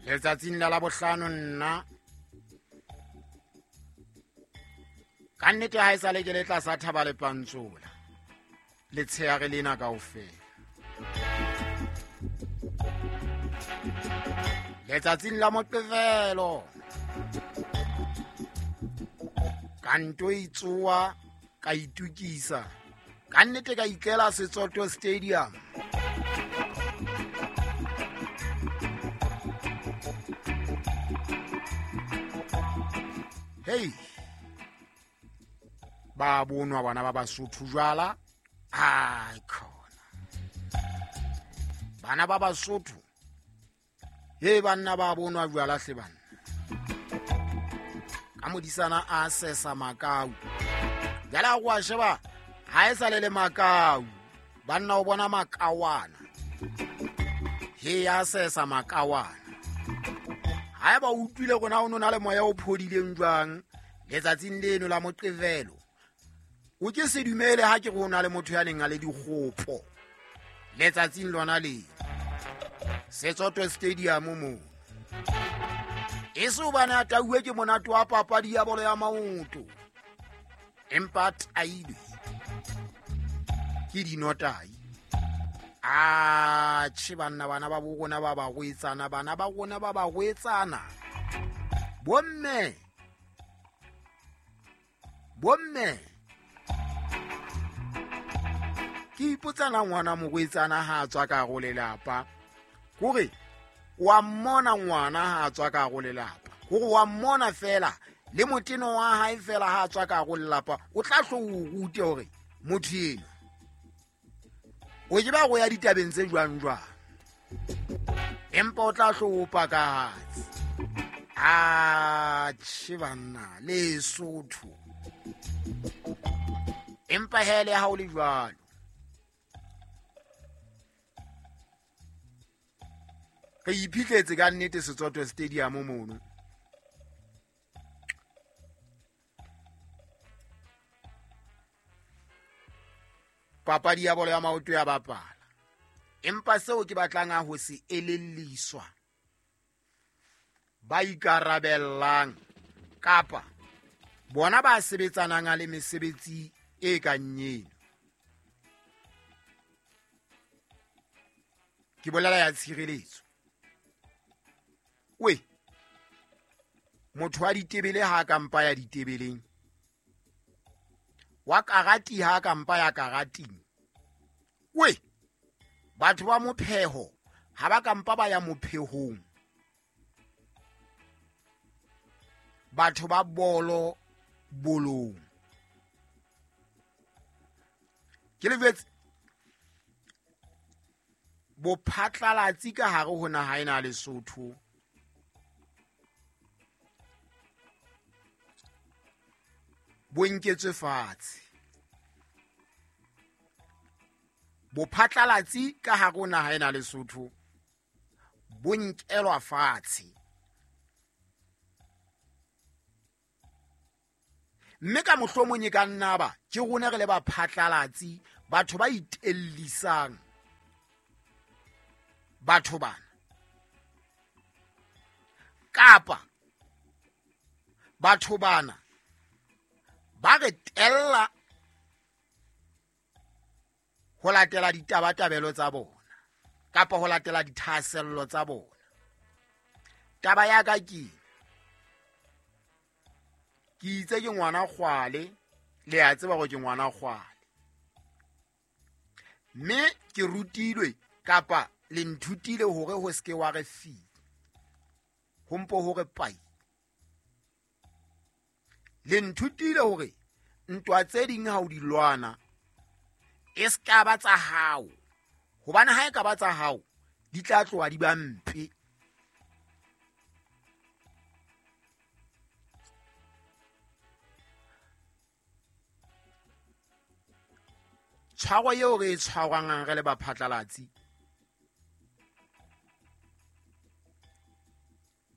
Letsatsing la Labohlano nna ka nnete ha e sale ke le tlasa thaba le pantsola letshehare lena kaofela. Letsatsing la Moqebelo ka nto itsoa ka itukisa ka nnete ka itlela Setsoto Stadium. Hey, ba bonwa bana ba Basotho jwala, ai khona bana ba Basotho, he banna ba bonwa jwala hle banna. Ka modisana a sesa makau, jala go a sheba ha e sa le le makau, banna o bona makawana, he ya sesa makawana. Ha eba o utlwile rona o nona le moya o phodileng jwang letsatsing leno la Moqebelo, o ke se dumele ha ke rona le motho ya neng a le dikgopo letsatsing lona le Setsoto Stadium mo. E se hobane a tauwe ke monate wa papadi ya bolo ya maoto, empa a tailwe ke dinotai. Atjhe banna, bana ba bo rona ba barwetsana, bana ba rona ba barwetsana, bomme, bomme, ke ipotsana ngwana morwetsana ha a tswa ka hare ho lelapa, hore wa mmona ngwana ha a tswa ka hare ho lelapa, hore wa mmona fela le moteno wa hae fela ha a tswa ka hare ho lelapa, o tla hlo o rute hore motho eno o ke ba go ya ditabeng tse jwang jwang, empa o tla hlo o pakahatse. Atjhe banna, Lesotho. Empa hele ha o le jwalo, re iphihletse ka nnete Setsoto Stadium mono. Papadi ya bolo ya maoto ya bapala, empa seo ke batlang a ho se elelliswa ba ikarabellang kapa bona ba sebetsanang le mesebetsi e kang eno, ke bolela ya tshireletso. We motho wa ditebele ha ka mpa ya ditebeleng, wa karati ha ka mpa ya karating, we batho ba mopheho ha ba ka mpa ba ya mophehong, batho ba bolo bolong. Ke le jwetse bophatlalatsi ka hare ho naha ena ya Lesotho bo nketswe fatshe. Bophatlalatsi ka hare ho naha ena ya Lesotho bo nkelwa fatshe. Mme ka mohlomong e ka nna ba ke rona re le baphatlalatsi, batho ba itellisang batho bana, kapa batho bana ba re tella ho latela ditabatabelo tsa bona kapa ho latela dithahasello tsa bona. Taba ya ka ke ke itse ke ngwana kgwale, le a tseba hore ke ngwana kgwale, mme ke rutilwe kapa le nthutile hore ho seke wa re fi, ho mpo hore pai. Le nthutile hore ntwa tse ding ha o di lwana e ska ba tsa hao, hobane ha e ka ba tsa hao di tla tloha di ba mpe. Tshwaro eo re e tshwarwang re le baphatlalatsi,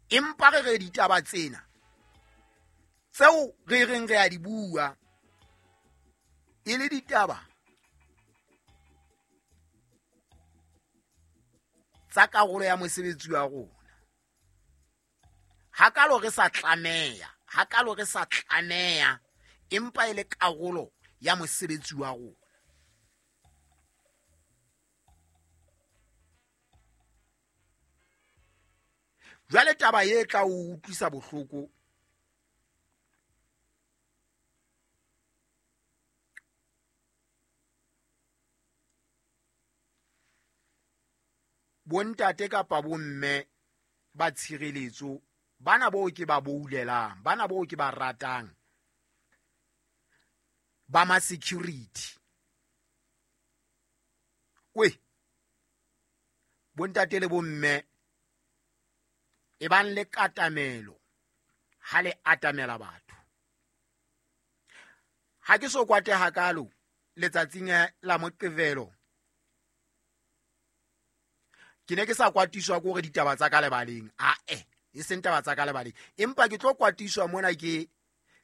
empa re re ditaba tsena tseo re reng re a di bua e le ditaba tsa karolo ya mosebetsi wa rona. Hakalo re sa tlameha, hakalo re sa tlameha, empa e le karolo ya mosebetsi wa rona. Jwale taba e tla o utlwisa bohloko bontate kapa bomme ba tshireletso bana boo ke ba boulelang, bana boo ke ba ratang, ba ma security. We bontate le bomme e bang le katamelo ha le atamela batho. Ha ke so kwate hakalo letsatsing la Moqebelo, ke ne ke sa kwatiswa ke hore ditaba tsa ka lebaleng, ae e seng taba tsa ka lebaleng, empa ke tlo kwatiswa mona ke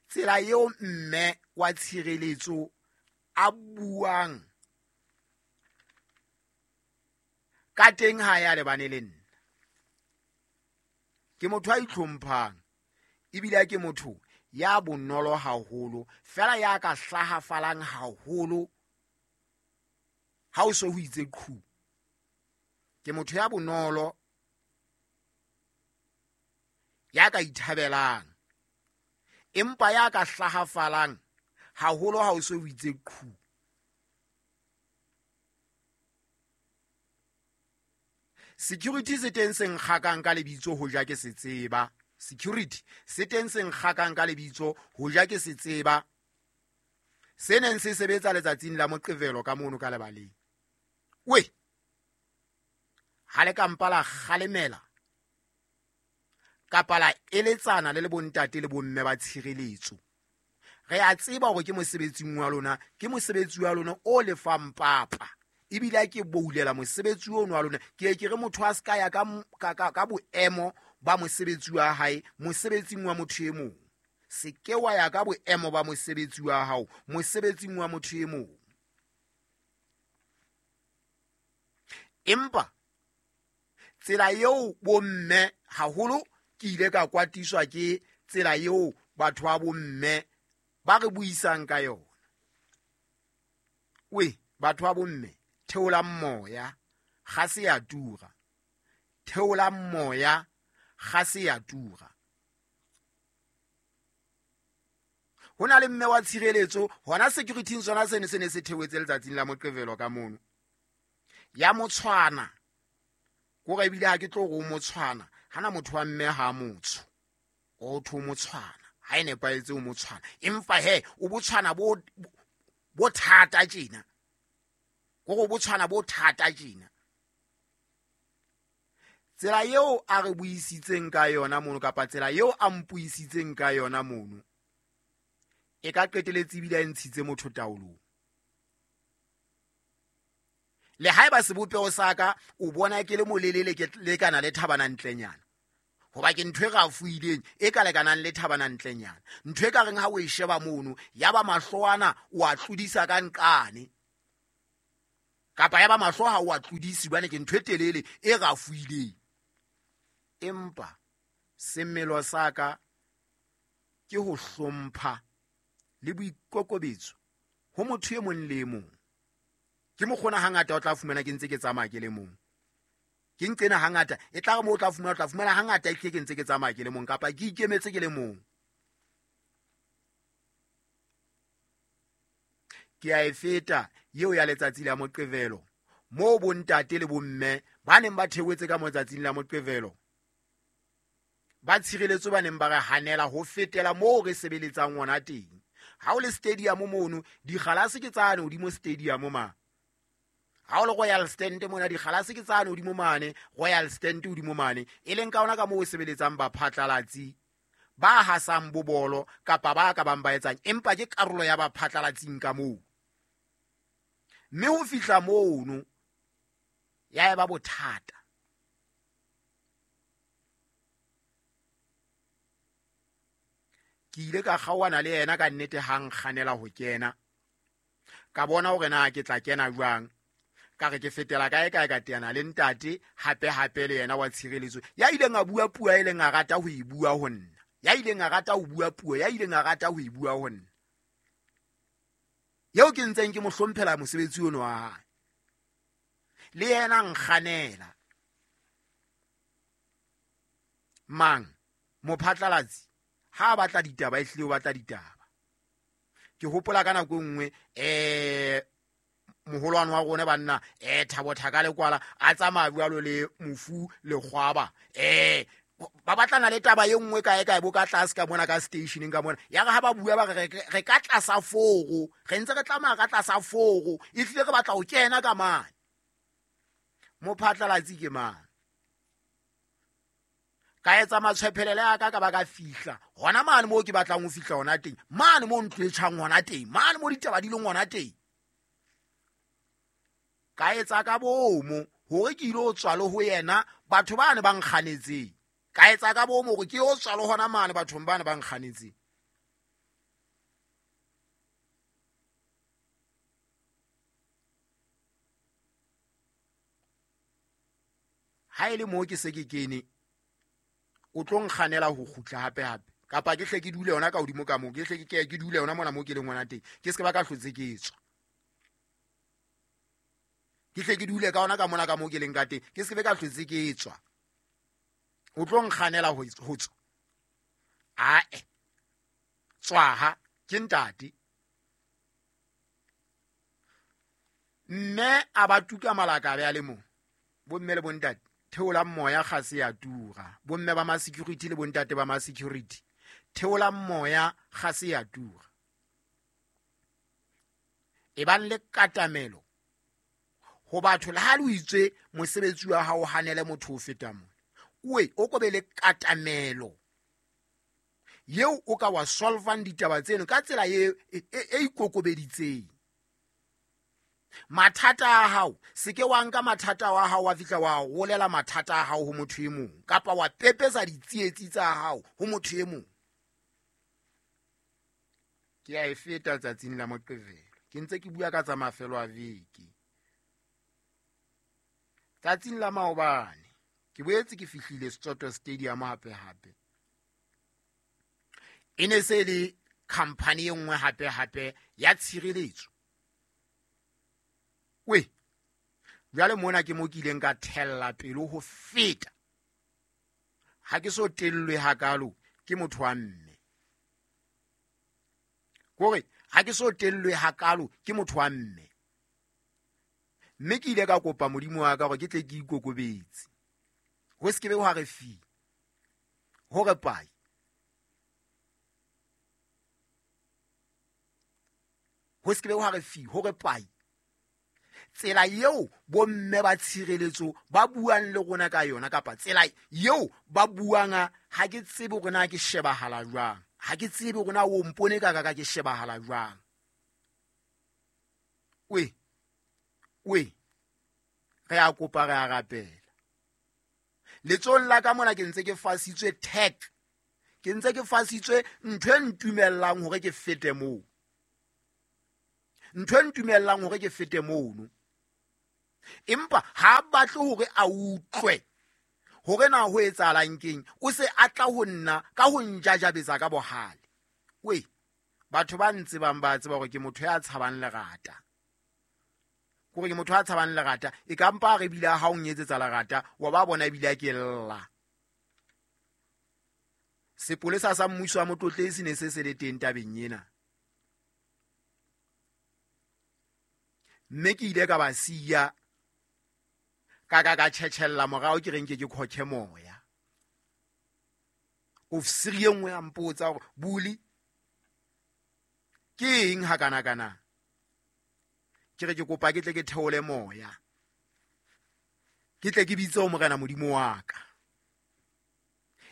tsela eo mme wa tshireletso a buang ka teng ha ya lebane le nna. Ke motho a itlhomphang ebile ke motho ya bonolo haholo, fela ya ka hlahafalang haholo ha o so ho itse qhu. Ke motho ya bonolo ya ka ithabelang, empa ya ka hlahafalang haholo ha o so ho itse qhu. Security se teng se nkgakang ka lebitso ho ja ke se tseba. Security se teng se nkgakang ka lebitso ho ja ke se tseba. Se neng se sebetsa letsatsing la Moqebelo ka mono ka lebaleng. We ha le ka mpa la kgalemela kapa la eletsana le le bontate le bomme ba tshireletso. Re a tseba hore ke mosebetsing wa lona, ke mosebetsi wa lona o lefang papa. Ebile ke boulela mosebetsi ono wa lona. Ke ke re motho a ska ya ka boemo ba mosebetsi wa hae mosebetsing wa motho e mong. Se ke wa ya ka boemo ba mosebetsi wa hao mosebetsing wa motho e mong. Empa tsela eo bomme haholo ke ile ka kwatiswa ke tsela eo batho ba bomme ba re buisang ka yona. We batho ba bomme, theolang moya, ga se ya tura. Theolang moya, ga se ya tura. Ho na le mme wa tshireletso hona security sona sene se ne se theoetse letsatsing la Moqebelo ka mono. Ya motshwana, kore ebile ha ke tlo re o motshwana, hana motho wa mme ha motsho, o tho motshwana, ha e nepahetse o motshwana, empa he o botshwana bo thata tjena. Kore o botshwana bo thata tjena. Tsela eo a re buisitseng ka yona mono kapa tsela eo a mpuisitseng ka yona mono e ka qeteletse ebile a ntshitse motho taolong. Le haeba sebopeho sa ka o bona ke le molelele ke lekana le thabana ntlenyana, hoba ke ntho e rafoileng e ka lekanang le thabana ntlenyana, ntho e ka reng ha o e sheba mono ya ba mahlo ana o a tlodisa ka nqane, kapa ya ba mahlo ha o a tlodisi hobane ke ntho e telele e rafoileng. Empa semelo sa ka ke ho hlompha le boikokobetso ho motho e mong le e mong. Ke mokgona hangata o tla fumana ke ntse ke tsamaya ke le mong. Ke nqena hangata e tla re mo o tla fumana, o tla fumana hangata ke ntse ke tsamaya ke le mong kapa ke ikemetse ke le mong. Ke a e feta eo ya letsatsi la Moqebelo moo bontate le bomme ba neng ba theohetse ka motsatsing la Moqebelo ba tshireletso ba neng ba re hanela ho fetela moo re sebeletsang ona teng. Ha o le stadium mono, dikgalase ke tsane hodimo stadium ma. Ha o le Royal Stand mona, dikgalase ke tsane hodimo mane, Royal Stand hodimo mane, e leng ka ona ka moo o sebeletsang baphatlalatsi ba hasang bobolo kapa ba ka bang ba etsang, empa ke karolo ya baphatlalatsing ka moo. Mme ho fihla mono ya eba bothata. Ke ile ka kgaohana le yena ka nnete ha nkganela ho kena. Ka bona hore na ke tla kena jwang. Ka re ke fetela kae kae ka teana le ntate hape hape le yena wa tshireletso ya ileng a bua puo e leng a rata ho e bua ho nna, ya ileng a rata ho bua puo ya ileng a rata ho e bua ho nna, eo ke ntseng ke mo hlomphela mosebetsi ono wa hae. Le yena nkganela mang mophatlalatsi ha a batla ditaba, ehlile o batla ditaba. Ke hopola ka nako e nngwe moholwane wa rona banna Thabo Thaka Lekwala a tsamaya jwalo le mofu Lekgwaba, ba batlana le taba e nngwe kae kae bo ka tlase ka mona ka stationeng ka mona. Ya re ha ba bua ba re re ka tlasa foro, re ntse re tlamaya ka tlasa foro, ehlile re batla ho kena ka mane. Mophatlalatsi ke mang? Ka etsa matshwephelele a ka ka ba ka fihla hona mane moo ke batlang ho fihla hona teng, mane moo ntlo e tjhang hona teng, mane moo ditaba di leng hona teng. Ka etsa ka bomo hore ke ile ho tswa le ho yena batho bane ba nkganetseng. Ka etsa ka bomo hore ke yo tswa le hona mane bathong bane ba nkganetseng. Ha e le moo ke se ke kene, o tlo nkganela ho kgutla hape hape, kapa ke hle ke dule yona ka hodimo ka moo, ke hle ke dule yona mona moo ke leng hona teng, ke se ke ba ka hlotse ke tswa. Ke hle ke dule ka ona ka mona ka moo ke leng ka teng, ke se ke be ka hlotse ke tswa. O tlo nkganela ho tswa. Ae, tswaha ke ntate. Mme a ba tuka malakabe a le mong. Bomme le bontate, theolang moya kgase ya tura. Bomme ba ma-security le bontate ba ma-security, theolang moya kgase ya tura. E bang le katamelo ho batho, le ha le itswe mosebetsi wa hao hanele motho o feta mona, oe o ko be le katamelo yeo o ka wa solvang ditaba tseno ka tsela e ikokobeditseng. Mathata a hao, se ke wa nka mathata wa hao wa fihla wa rolela mathata a hao ho motho e mong, kapa wa pepesa ditsietsi tsa hao ho motho e mong. Ke a e feta tsatsing la Moqebelo, ke ntse ke bua ka tsa mafelo a veke. Tsatsing la maobane ke boetse ke fihlile Setsoto Stadium hape hape. E ne se le khamphani e nngwe hape hape ya tshireletso. We, jwale mona ke mo ke ileng ka thella pelo ho feta. Ha ke so tellwe hakalo ke motho wa mme. Kore ha ke so tellwe hakalo ke motho wa mme. Mme ke ile ka kopa Modimo wa ka hore ke tle ke ikokobetse. Ho se ke be hwa re fi, hore pai. Ho se ke be hwa re fi, hore pai. Tsela eo bomme ba tshireletso ba buang le rona ka yona, kapa tsela eo ba buang, ha ke tsebe hore na ke shebahala jwang, ha ke tsebe hore na o mpone ka ka ke shebahala jwang. We, we, re a kopa, re a rapela. Letsohong la ka mona ke ntse ke fasitswe tag, ke ntse ke fasitswe ntho e ntumellang hore ke fete moo. Ntho e ntumellang hore ke fete mono. Empa ha batle hore a utlwe hore na ho etsahalang keng, o se a tla ho nna ka ho njajabetsa ka bohale. We, batho ba ntsebang ba tseba hore ke motho ya tshabang lerata. Kore ke motho ya tshabang lerata, e ka mpa re bile ha o nyetsetsa lerata, wa ba bona ebile a ke lla. Sepolesa sa mmuso wa Motlotleng se ne se se le teng tabeng ena. Mme ke ile ka ba siya, ka ka ka tjhetjhella morao ke reng ke ke khokhe moya. Ofisiri e nngwe ya mpotsa hore Buli ke eng hakana kana? Ke re ke kopa ke tle ke theole moya, ke tle ke bitse ho Morena Modimo wa ka.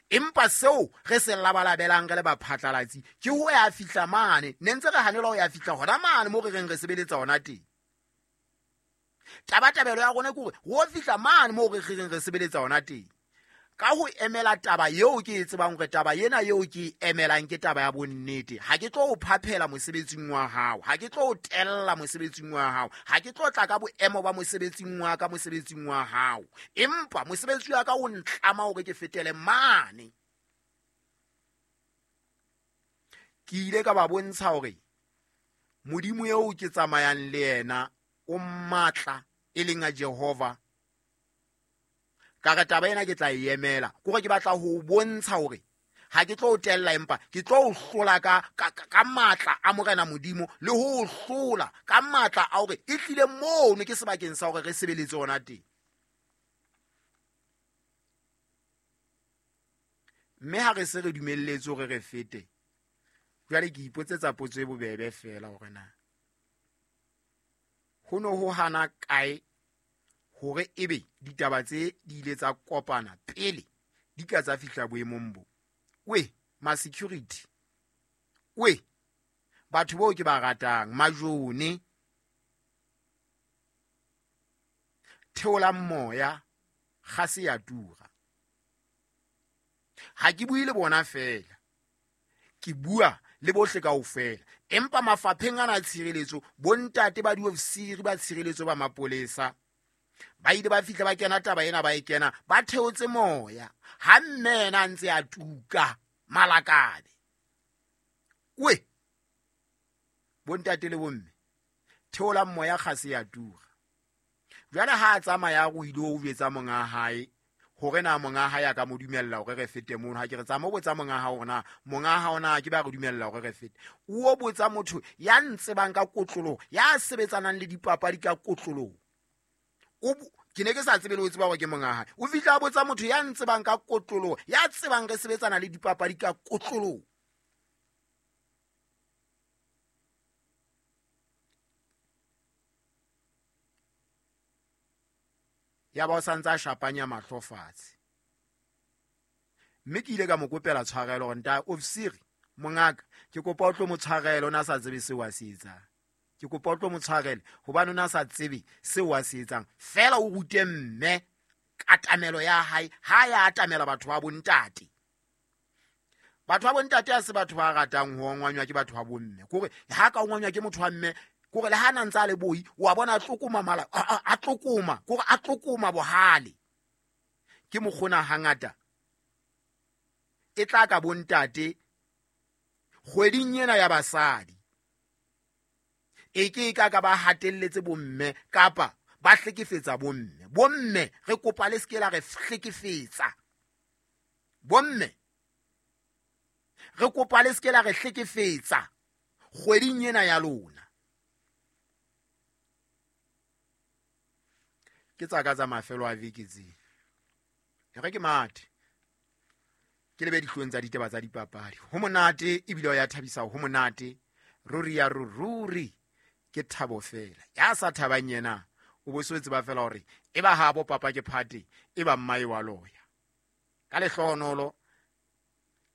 Empa seo re se labalabelang re le baphatlalatsi ke ho ya fihla mane, ne ntse re hanelwa ho ya fihla hona mane moo re reng re sebeletsa hona teng. Tabatabelo ya rona ke hore ho fihla mane moo re reng re sebeletsa hona teng. Ka ho emela taba eo ke e tsebang hore taba ena eo ke e emelang ke taba ya bonnete, ha ke tlo o phaphela mosebetsing wa hao, ha ke tlo o tella mosebetsing wa hao, ha ke tlo tla ka boemo ba mosebetsing wa ka mosebetsing wa hao, empa mosebetsi wa ka o ntlama hore ke fetele mane. Ke ile ka ba bontsha hore Modimo eo ke tsamayang le yena o matla, e leng a Jehova. Ka re taba ena ke tla e emela, kore ke batla ho bontsha hore ha ke tlo o tella, empa ke tlo o hlola ka matla a Morena Modimo, le ho o hlola ka matla a hore e tlile mono ke sebakeng sa hore re sebeletse hona teng. Mme ha re se re dumelletse hore re fete, jwale ke ipotsetsa potso e bobebe fela hore na ho no ho hana kae hore ebe ditaba tse di ile tsa kopana pele di ka tsa fihla boemong bo. We ma security, we batho bao ke ba ratang, majone, theolang moya, kgase ya tura. Ha ke bue le bona fela, ke bua le bohle kaofela, empa mafapheng ana a tshireletso, bontate ba diofisiri ba tshireletso ba mapolesa ba ile ba fihla ba kena taba ena, ba e kena ba theotse moya ha mme yena a ntse a tuka malakabe. We bontate le bomme, theolang moya, kgase ya tura. Jwale ha a tsamaya o ile o jwetsa monga hae hore na monga hae a ka mo dumella hore re fete mono. Ha ke re tsamaya o botsa monga hao hore na monga hao na ke ba re dumella hore re fete. O botsa motho ya ntsebang ka kotloloho, ya sebetsanang le dipapadi ka kotloloho. Ke ne ke sa tsebe le ho tseba hore ke monga hae. O fihla a botsa motho ya ntsebang ka kotloloho, ya tsebang re sebetsana le dipapadi ka kotloloho. Ya ba o sa ntse a shapanya mahlo fatshe. Mme ke ile ka mo kopela tshwarelo hore nta ofisiri mongaka, ke kopa o tlo mo tshwarele, o na sa tsebe seo a se etsang. Ke kopa o tlo mo tshwarele hobane o na sa tsebe seo a se etsang. Feela o rute mme katamelo ya hae, ha ya atamela batho ba bontate. Batho ba bontate ha se batho ba ratang ho ongwanywa ke batho ba bomme. Kore ha ka ongwanywa ke motho wa mme, kore le ha na ntse a le boi, wa bona a tlokoma mala, a tlokoma, kore a tlokoma bohale. Ke mokgona hangata e tla ka bontate kgweding ena ya basadi. E ke ka ka ba hatelletse bomme kapa ba hlekefetsa bomme. Bomme re kopa le se ke la re hlekefetsa. Bomme re kopa le se ke la re hlekefetsa kgweding ena ya lona. Ke tsa ka tsa mafelo a veke tse. E re ke mathe. Ke lebe dihlong tsa ditaba tsa dipapadi. Ho monate ebile ya thabisa, ho monate. Ruri ya ruri ke thabo fela. Ya sa thabang yena o bo se tseba fela hore e ba ha bo papa ke phate, e ba mmae wa loya. Ka lehlohonolo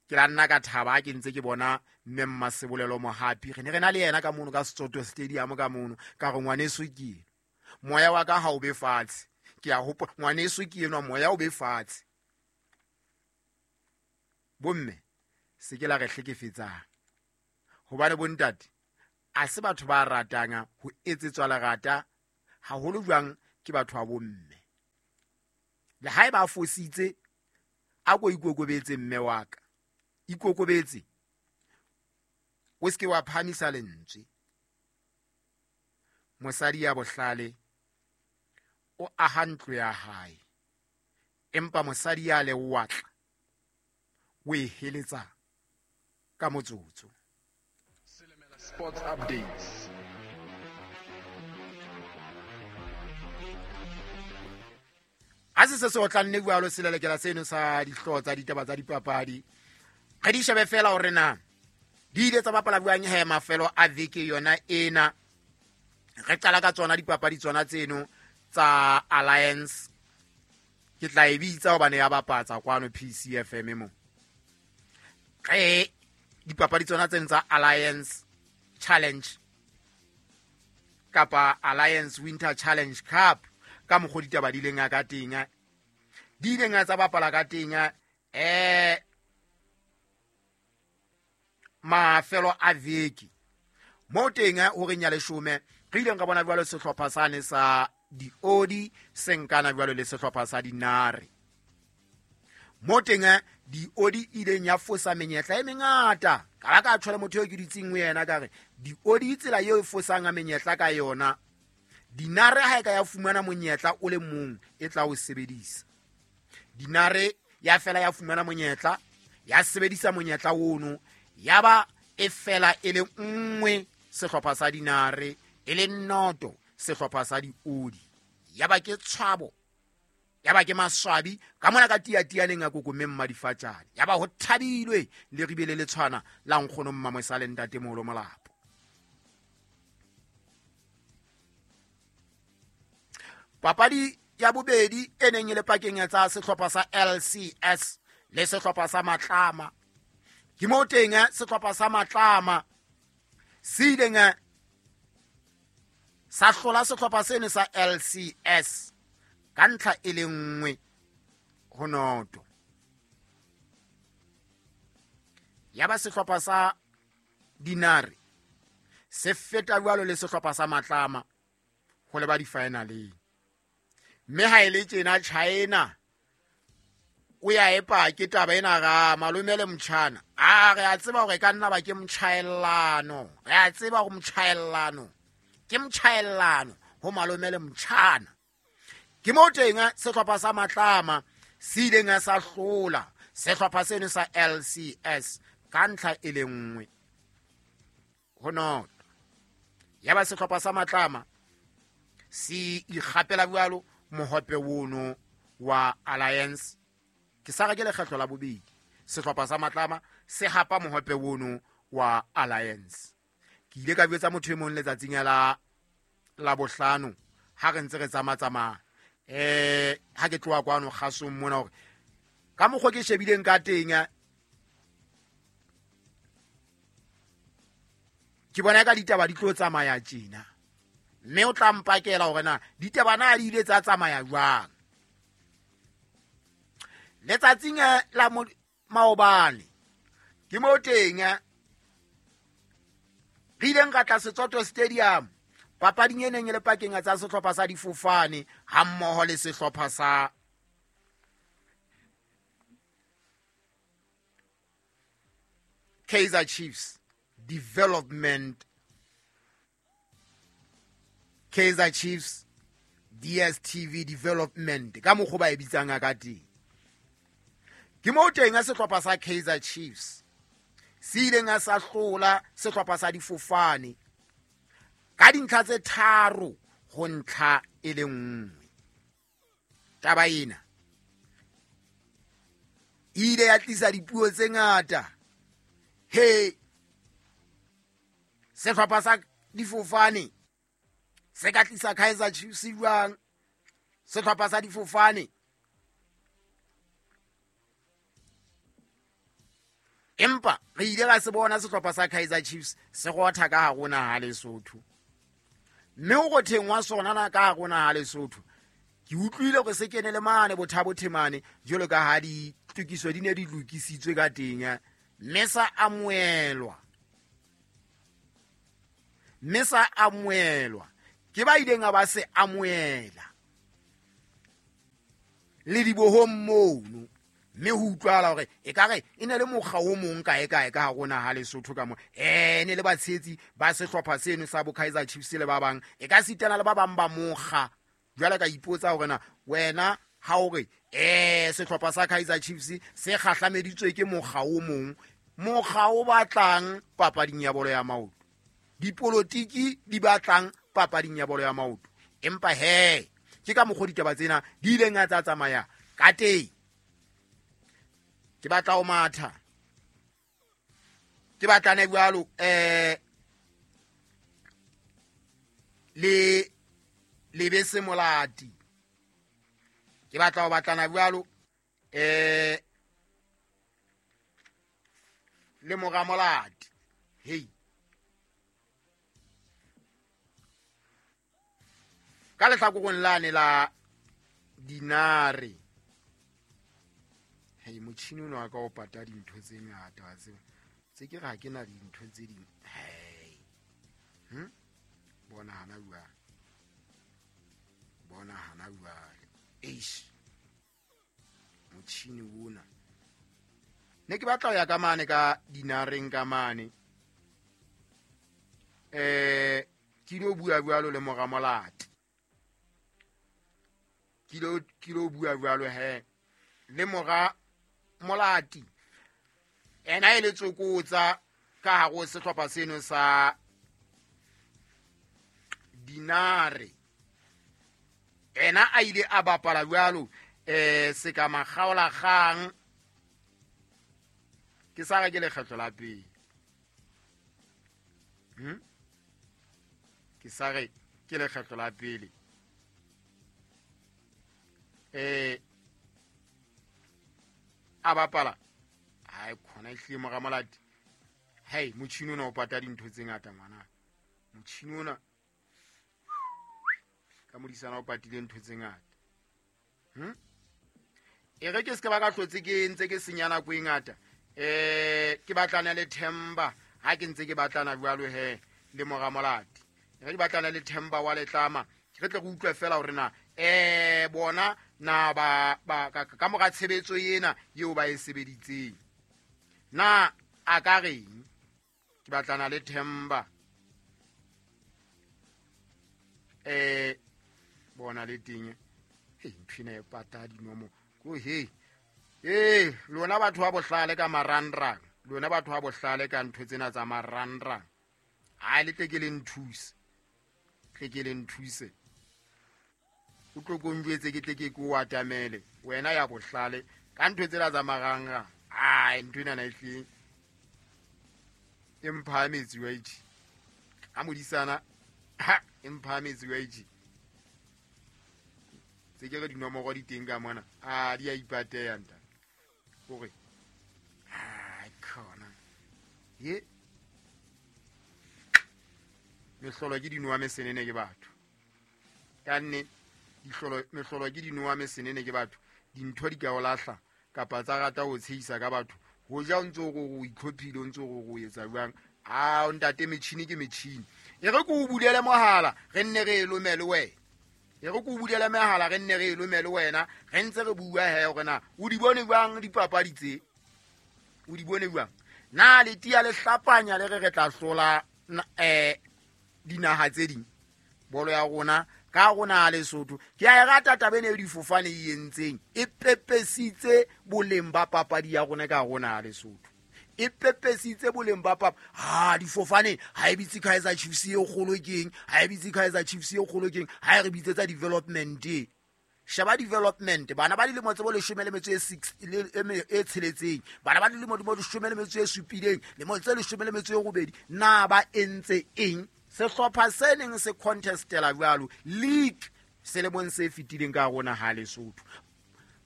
ke la nna ka thaba ke ntse ke bona mme Mmasebolelo Mohapi. Re ne re na le yena ka mono ka Setsoto Stadium ka mono, ka re ngwaneso ke eno. Moya wa ka ha o be fatshe. Ke a hopola ngwaneso ke enwa, moya o be fatshe. Bomme se ke la re hlekefetsang, hobane bontate a se batho ba ratang ho etsetswa lerata haholo jwang ke batho ba bomme. Le ha eba a fositse, a ko ikokobetse mme wa ka, ikokobetse, o se ke wa phahamisa lentswe. Mosadi ya bohlale o aha ntlo ya hae, empa mosadi ya lewatla o e heletsa ka motsotso. Sports updates. Ha se se otlanne jwalo selelekela seno sa dihlooho tsa ditaba tsa dipapadi, re di shebe fela hore na di ile tsa bapala jwang he mafelo a veke yona ena. Re qala ka tsona dipapadi tsona tseno tsa Alliance. Ke tla e bitsa hobane ya bapatsa kwano PCFM mo. Re dipapadi tsona tseno tsa Alliance Challenge kapa Alliance Winter Challenge Cup ka mokgwa ditaba di leng ka teng. di ileng tsa bapala ka teng mafelo a veke. Mo teng horeng ya 10 re ileng ka bona jwalo sehlopha sane sa diodi se nkana jwalo le sehlopha sa dinare. Mo teng diodi ileng ya fosa menyetla e mengata. Ka ba ka tshwara motho eo ke dutseng ho yena ka re diodi tsela eo e fosang menyetla ka yona, dinare ha e ka ya fumana monyetla o le mong e tla o sebedisa. Dinare ya fela ya fumana monyetla, ya sebedisa monyetla ono, ya ba e fela e le nngwe sehlopha sa dinare, e le noto sehlopha sa diodi. Ya ba ke tshwabo, ya ba ke maswabi ka mona ka tiatianeng a kokomeng madifatjane. Ya ba ho thabilwe le ribele le tshwana la nkgono Mmamosale le ntate Moholo Molapo. Papadi ya bobedi e neng e le pakeng tsa sehlopha sa LCS le sehlopha sa Matlama. Ke mo teng sehlopha sa Matlama se ileng sa hlola sehlopha seno sa LCS ka ntlha e le nngwe ho noto. Ya ba sehlopha sa dinare se feta jwalo le sehlopha sa Matlama ho leba di-finaleng. Mme ha e le tjena China o ya epa ke taba ena ga malome le motjhana. A re a tseba hore ka nna ba ke motjhaellano, re a tseba hore motjhaellano ke motjhaellano ho malome le motjhana. Ke mo teng sehlopha sa Matlama se ileng sa hlola sehlopha seno sa LCS ka ntlha e le nngwe ho noto. Ya ba sehlopha sa Matlama se ikgapela jwalo mohope ono wa Alliance. Ke sa re ke lekgetlo la bobedi sehlopha sa Matlama se hapa mohope ono wa Alliance. Ke ile ka jwetsa motho e mong letsatsing la bohlano ha re ntse re tsamatsamaya ha ke tloha kwano kgasong mona hore ka mokgwa ke shebileng ka teng ke bona ka ditaba di tlo tsamaya tjena, mme o tla mpakela hore na ditaba na di ile tsa tsamaya jwang. Letsatsing la maobane ke mo teng re ileng ka tla Setsoto Stadium papading e neng e le pakeng tsa sehlopha sa difofane ha mmoho le sehlopha sa Kaizer Chiefs Development, Kaizer Chiefs DStv Development ka mokgwa ba e bitsang ka teng. Ke mo teng sehlopha sa Kaizer Chiefs se ileng sa hlola sehlopha sa difofane ka dintlha tse 3 ho ntlha e le nngwe. Taba ena e ile ya tlisa dipuo tse ngata. He, sehlopha sa difofane se ka tlisa Kaizer Chiefs jwang? Sehlopha sa difofane empa re ile ra se bona sehlopha sa Kaizer Chiefs se rotha ka hare ho naha Lesotho. Mme ho rotheng wa sona na ka hare ho naha Lesotho, ke utlwile hore se kene le mane Bothabothemane jwalo ka ha ditokiso di ne di lokisitswe ka teng, mme sa amohelwa. Mme sa amohelwa ke ba ileng ba se amohela le dibohong mono. Mme ho utlwahala hore ekare e ne le mokga o mong kae kae ka hare ho naha Lesotho ka mo. Ne le batshehetsi ba sehlopha seno sa bo Kaizer Chiefs le ba bang, e ka sitana le ba bang ba mokga. Jwale ka ipotsa hore na wena ha o re sehlopha sa Kaizer Chiefs se kgahlameditswe ke mokga o mong, mokga o batlang papading ya bolo ya maoto, dipolotiki di batlang papading ya bolo ya maoto. Empa he ke ka mokgwa ditaba tsena di ileng tsa tsamaya ka teng. Ke batla ho matha, ke batlane jwalo le Lebese Molati, ke batla ho batlana jwalo le mora Molati. Hey, ka lehlakoreng lane la dinare Hei, motjhini ona wa ka o pata dintho tse ngata wa tseba. Tse ke re ha ke na dintho tse ding. Hei. Bona hana jwale. Bona hana jwale. Eish. Motjhini ona. Ne ke batla ho ya ka mane ka dinareng ka mane. Ke ilo bua jwalo le mora Molati. Ke ilo bua jwalo he le mora Molati. Ena e le tsokotsa ka hare ho sehlopha seno sa Dinare. Ena a ile a bapala jwalo se ka makgaolakgang. Ke sa re ke lekgetlo la pele. Ke sa re ke lekgetlo la pele. A bapala. Ai khona ehlile mora Molati. Hei, motjhini ona o pata dintho tse ngata ngwana. Motjhini ona ka modisana o patile ntho tse ngata. E re ke se ba ka hlotse ke ntse ke senya nako e ngata. Ke batlana le Themba ha ke ntse ke batlana jwalo he le mora Molati. Re ke batlana le Themba wa Letlama. Re tle re utlwe fela hore na bona na ba ka mora tshebetso ena eo ba e sebeditseng. Na a ka reng? Ke batlana le Themba. Bona le teng. Hei, ntho ena e pata dinomo. Ko he. Lona batho ba bohlale ka marangrang. Lona batho ba bohlale ka ntho tsena tsa marangrang. Ha le tle ke le nthuse. Tle ke le nthuse. O tlo ko njwetse ke tle ke ko atamele. Wena ya bohlale ka ntho tsena tsa marangrang. Ai, ntho ena na ehlile e mphahametse wa itjhe. Ha modisana ha e mphahametse wa itjhe. Tse ke re dinomoro di teng ka mona. A di a ipateya ntate. Hore ai khona. Ye. Mehlolo ke dinowa mesenene ke batho. Ka nne mehlolo ke dinowa mesenene ke batho. Dintho di ka o lahla kapa tsa rata ho tshehisa ka batho. Ho ja o ntso o itlhophile, o ntso o etsa jwang? A ntate metjhini ke metjhini. E re ke o bulele mohala, re nne re e lomele wena. E re ke o bulele mohala, re nne re e lomele wena. Re ntse re bua he hore na o di bone jwang dipapadi tse? O di bone jwang? Na le tia le hlapanya le re re tla hlola dinaha tse ding? Bolo ya rona ka rona Lesotho. Ke a e rata taba ena e difofane e entseng. E pepesitse boleng ba papadi ya rona ka rona Lesotho. E pepesitse boleng ba papa. Ha difofane ha e bitse Kaizer Chiefs e kgolo keng? Ha e bitse Kaizer Chiefs e kgolo keng? Ha e re bitsetsa development e. Sheba development. Bana ba dilemo tse bo 16 e tsheletseng. Bana ba dilemo di 17, lemo tse 18. Na ba entse eng? Sehlopha se neng se contestela jwalo league selemong se fetileng ka rona ha Lesotho.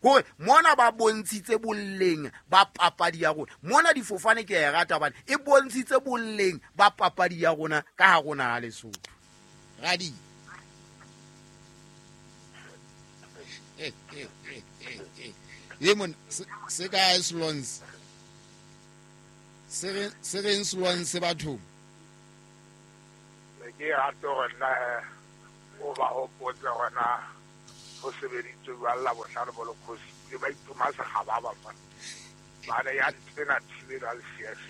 Hore mona ba bontshitse boleng ba papadi ya rona. Mona difofane ke e rata hobane e bontshitse boleng ba papadi ya rona ka ha rona ha Lesotho. Radi. Ye mon se ka Slons. Se reng Slons bathong? Ke rata hore nna o ba hopotse hore na ho sebeditswe jwang Labohlano bo lekgosi le ba itoma sekgaba ba mona. Bane ya nthena thibela le CS.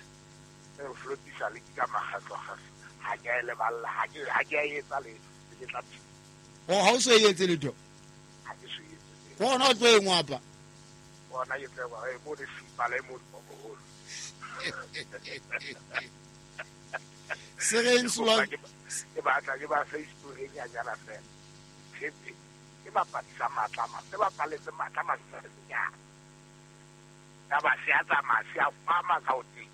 E flotisa le ka makgetlo-kgetlo. Ha ke a e leballa, ha ke a etsa letho, ke tla O ha o so e etse letho? Ha ke so etse letho. Bona o tlo e ngwapa. Bona ke tlo e mo le simpa le mo moholo. Se reng Slons? Ke batla ke ba Facebook e nyanyana fela. Tshepe ke bapadisa matla ma, se bapaletse matla ma senyana. Ya ba se a tsamaya se a fama ka o teng.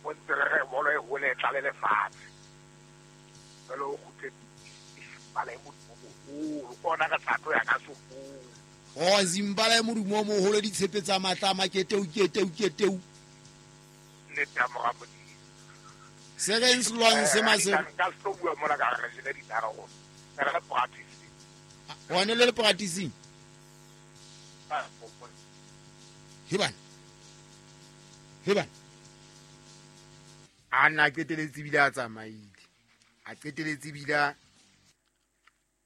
O ntse re re bolo e hole e tlale lefatshe. Jwale o kgutle Zimbala e modumo moholo. Ke ona re tla tlo ya ka sopong. Oh, Zimbala e modumo moholo, ditshepe tsa matla ma keteu keteu keteu. Nnete ya mora Modimo. Se reng Slons se mase? Ka se tlo bua mona ka re jele dinare go. Re le practice. One le le practicing. Hebane. Heba a nna qeteletse bile a tsamaile, a qeteletse bile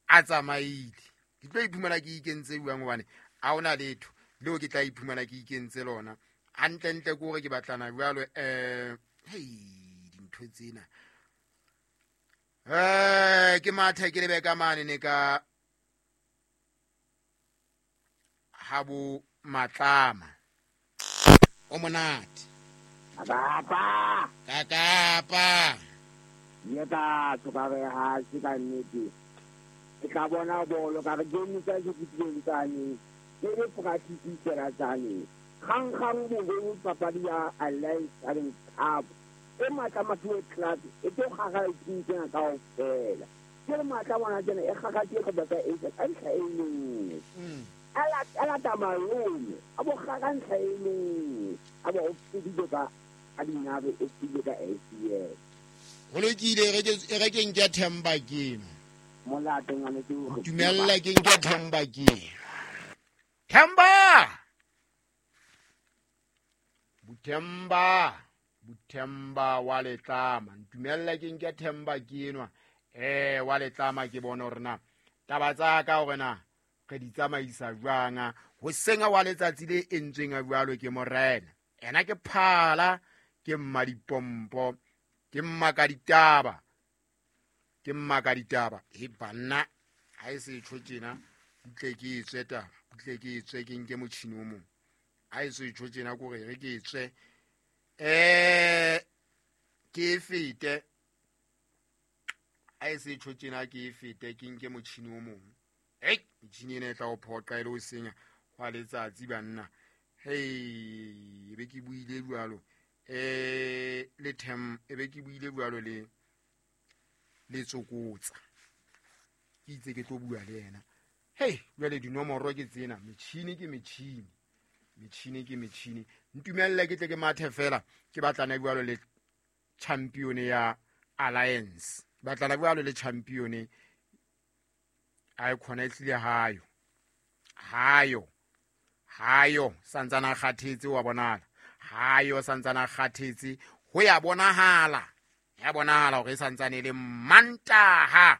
a tsamaile. Ke tlo iphumana ke ikentse jwang hobane ha hona letho leo ke tla iphumana ke ikentse lona. Hantlentle ke hore ke batlana jwalo hei dintho tsena. Ke mathe ke lebe ka mane ne ka habo Matlama. O monate. Kapa. Kakapa. Ye ka tsoka re ha se ka nnete. Ke tla bona bolo ka re game tsa ke tseng tsane. Ke le practice tsela tsane. Kgang kgang bo papadi ya Alliance Challenge Cup. E Matlama ke club e tlo gaga team tsena kaofela. Ke matla bona tsena e gaga ke go batla e ka ntlha e nngwe. Ala tamalome a bo gaga ntlha e nngwe a bo fedile ka a dinabe e fedile ka ACL. Ho lokile re ke nke Themba ke eno. Molato ngwane ke o dumella ke nke Themba ke. Themba! Buthemba, Buthemba wa Letlama. Ntumella ke nke Themba ke enwa. Wa Letlama ke bona hore na taba tsa ka hore na re di tsamaisa jwang. Hoseng wa letsatsi le entsweng jwalo ke morena. Ena ke phala, ke mma dipompo, ke mma ka ditaba. Ke mma ka ditaba. E banna ha e se tjho tjena, butle ke etswe taba, butle ke etswe ke nke motjhini o mong. Ha e se tjho tjena kore re ke etswe. Ke fete. Ha e se tjho tjena ke fete ke nke motjhini o mong. Ei, metjhini ena e tla o phoqa e le ho senya hwa letsatsi banna. Hei, be ke buile jwalo. Le them e be ke buile jwalo le le tsokotsa. Ke itse ke tlo bua le yena. Hei, jwale dinomoro ke tsena, metjhini ke metjhini. Metjhini ke metjhini. Ntumelle ke tle ke mathe fela ke batlana jwalo le champion ya Alliance. Batlana jwalo le champion a e khona e tlile hayo. Hayo. Hayo santsana kgathetse wa bonala. Hayo santsana kgathetse ho ya bonahala. Ya bonahala hore santsane le Mantaha.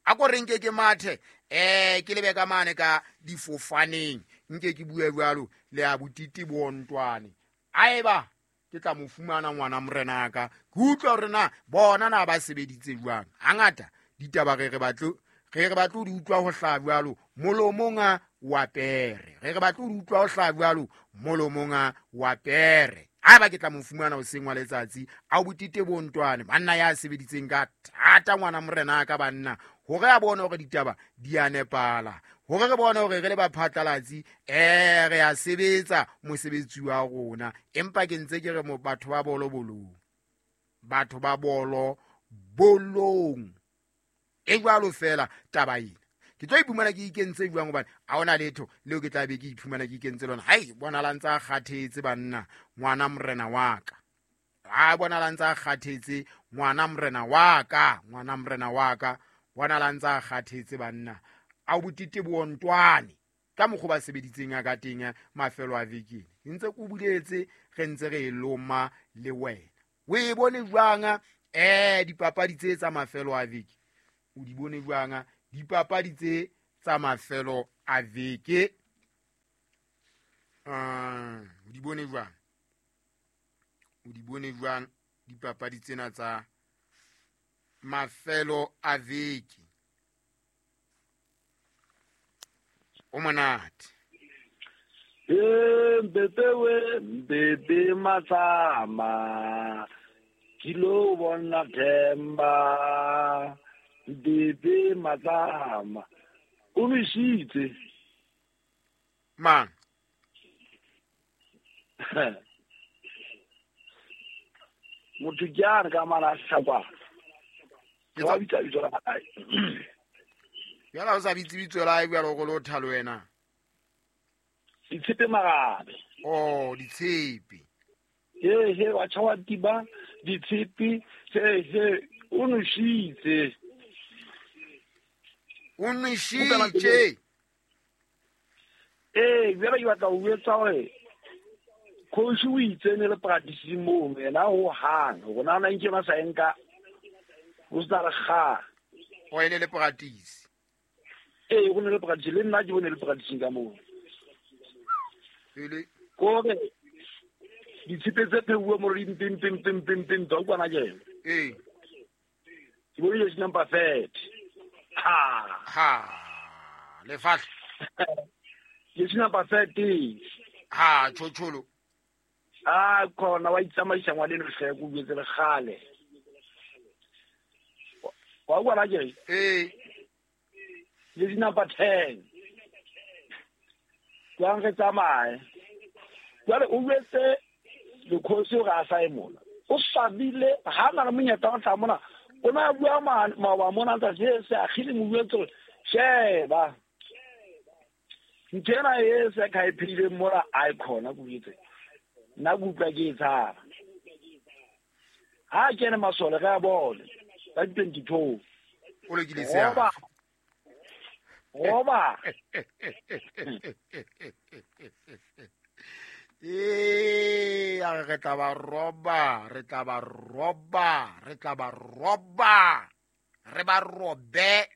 A ko re nke ke mathe ke lebe ka mane ka difofaneng. Nke ke bue jwalo le a botiti bontwane. Aeba ke tla mo fumana ngwana morena ka. Ke utlwa hore na bona na ba sebeditse jwang. Hangata ditaba re batle re batle di utlwa ho hlaha jwalo molomong wa pere. Re batle di utlwa ho hlaha jwalo molomong wa pere. Haeba ke tla mo fumana hoseng wa letsatsi a botite bontwane banna ya sebeditseng ka thata ngwana morena ka banna hore a bone hore ditaba di a nepala, hore re bone hore re le baphatlalatsi re a sebetsa mosebetsi wa rona. Empa ke ntse ke re mo batho ba bolo bolong, batho ba bolo bolong e jwalo fela taba ena. Ke tlo iphumana ke ikentse jwang hobane ha hona letho leo ke tla be ke iphumana ke ikentse lona. Hai bona la ntsa kgathetse banna ngwana morena wa ka. Ha bona la ntsa kgathetse ngwana morena wa ka, ngwana morena wa ka, bona la ntsa kgathetse banna. A botite bontwane ka mokgwa ba sebeditseng ka teng mafelo a veke. Ntse ke buletse re ntse re loma le wena. O e bone jwang dipapadi tse tsa mafelo a veke? O di bone jwang dipapadi tse tsa mafelo a veke? O di bone jwang? O di bone jwang dipapadi tsena tsa mafelo a veke? O monate. Mbebe we mbebe Matlama kilo bona Themba mbebe Matlama o nishitse mang? Motho ke a re ka mara hlakwa ke wa bitsa bitso la hae. Jwale o sa bitse bitso la hae jwalo go lo thalo wena. Ditshepe Marabe. Oh, ditshepe. He wa tshawa tiba ditshepe he o nishitse. O nishitse. Jwale ke batla ho etsa hore Coach o itse ne le practice mono yena ho hang rona na nke ba sa enka o sa re ga o ile le practice e go ne le practice le nna ke bone le practice ka moo ile ko re ditshipe tse pheuwe mo re pim pim pim pim pim tsa kwana ke e ke bone le number 30 ha ha le fahla le number 30 ha chocholo a khona wa itsamaisa ngwane le hle go buetse le gale wa kwana ke e le number 10 jwang re tsamaye jwale o buetse le khosi o ga sa emola o sabile ha na le monyetla wa tla mona o na bua ma mona tsa se se agile mo buetse sheba ntena e se ka iphile mora icon go buetse nna go utlwa ke tshaba ha ke ne masole ga bone ka 22 o lokile se ya roba e a re tla ba roba re tla ba roba re tla ba roba re ba robe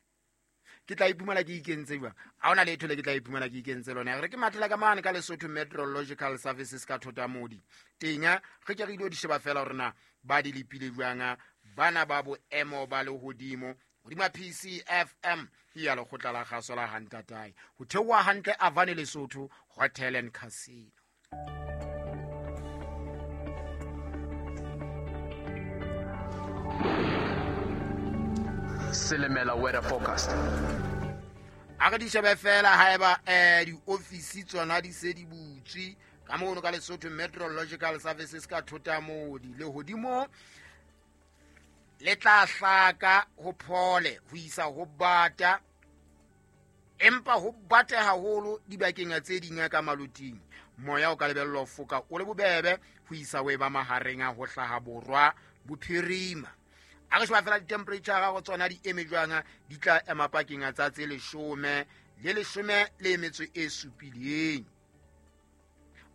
ke tla iphumana ke ikentse jwang a ona letho le ke tla iphumana ke ikentse lona re ke mathela ka mane ka Lesotho Meteorological Services ka Thotamodi teng re ke re ile di sheba fela hore na ba di lepile jwang bana ba boemo ba lehodimo hodima PCFM ya lekgotla la kgaso la Hantatae ho theoha hantle Avane Lesotho Hotel and Casino. Silimela weather forecast. A re di shebe fela haeba di-office tsona di se di butswe ka mono ka Lesotho Meteorological Services ka Thotamodi lehodimo le tla hlaka ho phole ho isa ho bata empa ho bate haholo dibakeng tse ding ka maloting moya o ka lebellwa ho foka o le bobebe ho isa ho eba mahareng a ho hlaha borwa bophirima. A re sheba fela di-temperature go tsona di eme jwang di tla ema pakeng tsa tse 10 le 17.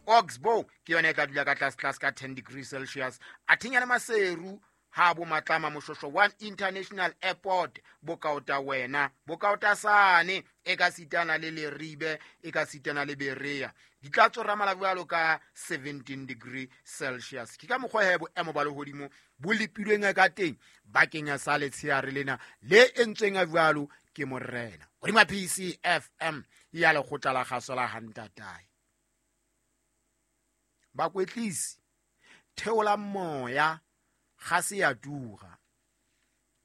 Oxbow ke yona e tla dula ka tlase tlase ka 10 degrees Celsius. A thinya le Maseru ha bo Matlama Moshosho 1 International Airport bokaota wena bokaota sane e ka sitana le Leribe e ka sitana le Berea di tla tsora mala ka 17 degree Celsius. Ke ka mokgwa he boemo ba lehodimo bo lepilweng ka teng bakeng sa letsheare lena le entsweng a jwalo ke morena hodima PCFM ya lekgotla la kgaso la Hantatae. Bakwetlisi theola moya ga se ya tura.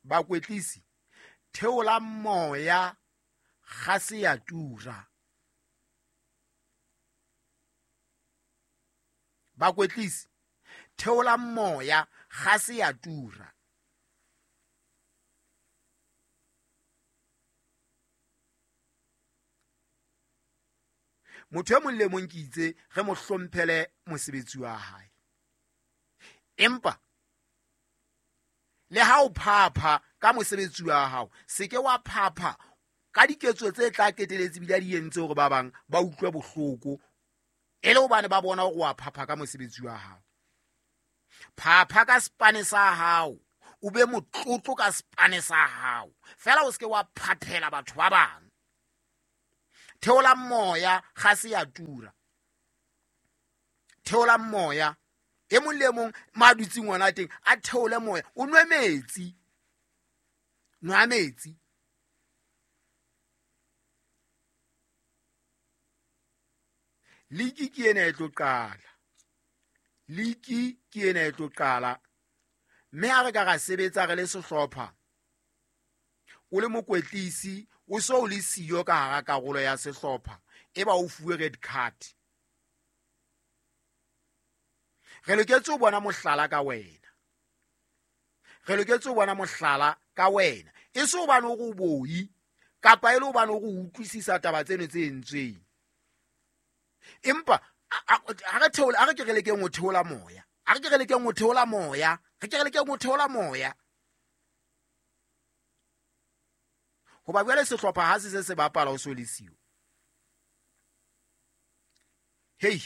Bakwetlisi theola moya ga se ya tura. Bakwetlisi theola moya ga se ya tura. Motho e mong le mong ke itse re mo hlomphele mosebetsi wa hae. Empa le ha o phapha ka mosebetsi wa hao se ke wa phapha ka diketso tse tla keteletse bile di entse hore ba bang ba utlwe bohloko e le hobane ba bona hore wa phapha ka mosebetsi wa hao. Phapha ka spane sa hao o be motlotlo ka spane sa hao fela o se ke wa phaphela batho ba bang. Theola moya ga se ya tura. Theola moya e mong le mong ma dutseng ngwana teng a theole moya o nwe metsi. Nwa metsi. Liki ke ena e tlo qala. Liki ke ena e tlo qala. Mme ha re ka ra sebetsa re le sehlopha o le mokwetlisi o so o le siyo ka hara karolo ya sehlopha e ba o fuwe red card. Re loketse ho bona mohlala ka wena. Re loketse ho bona mohlala ka wena. E se hobane o re o boi kapa e le hobane o re utlwisisa taba tseno tse entsweng. Empa ha re theola, ha re ke re lekeng ho theola moya. Ha re ke re lekeng ho theola moya. Re ke re lekeng ho theola moya. Hoba jwale sehlopha ha se se se bapala o so le siyo. Hei.